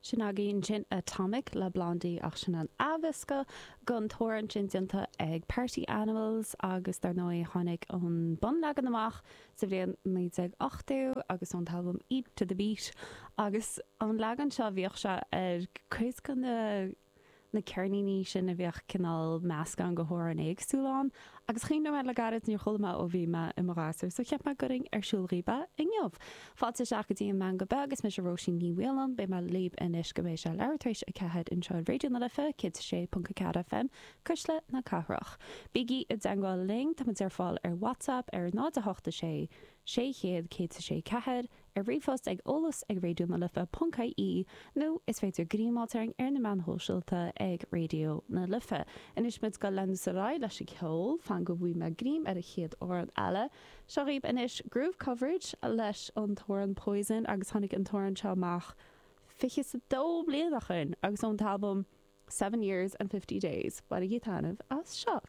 Sin againn ansin Atomic le Blondie ach sin an athmheascadh den t-amhrán sin déanta ag Party Animals agus dar ndóigh tháinig an bunleagan amach sa bhliain 1980 agus ón t-albam Eat to the Beat agus an leagan seo bhíodh sé ar cuid de na na ceirníní sin a bhíodh cineál meascán de hamhráin éagsúla ann agus chuimhnigh mé le gairid, níor chuala mé ó bhí mé i mo ghasúr so cheap mé go gcuirfinn ar siúl dhaoibh é inniu. Fáilte isteach go dtí an Meangadh Beag, is mise Róisín Ní Mhaoláin, beidh mé libh anois go mbeidh sé leathuair tar éis 4 anseo ar Raidió na Life, 106.4 FM, Cuisle na Cathrach. Bígí i dteangmháil linn, táimid ar fáil ar WhatsApp ar 0 8 6 600 106 4, ar ríomhphost ag eolas ag raidió na life ponc ie nó is féidir greim a fháilt orainn ar na meáin shóisialta ag Raidió na Life. Anois muid ag dul leanúint ar aghaidh leis an cheol, fan go bhfaighidh mé greim ar an chéad amhrán eile. Seo dhaoibh anois Groove Coverage leis an t-amhrán Poison agus tháinig an t-amhrán seo amach 22 bliain ó shin agus ón t-albam Seven Years and 50 Days. Bainigí taitneamh as seo.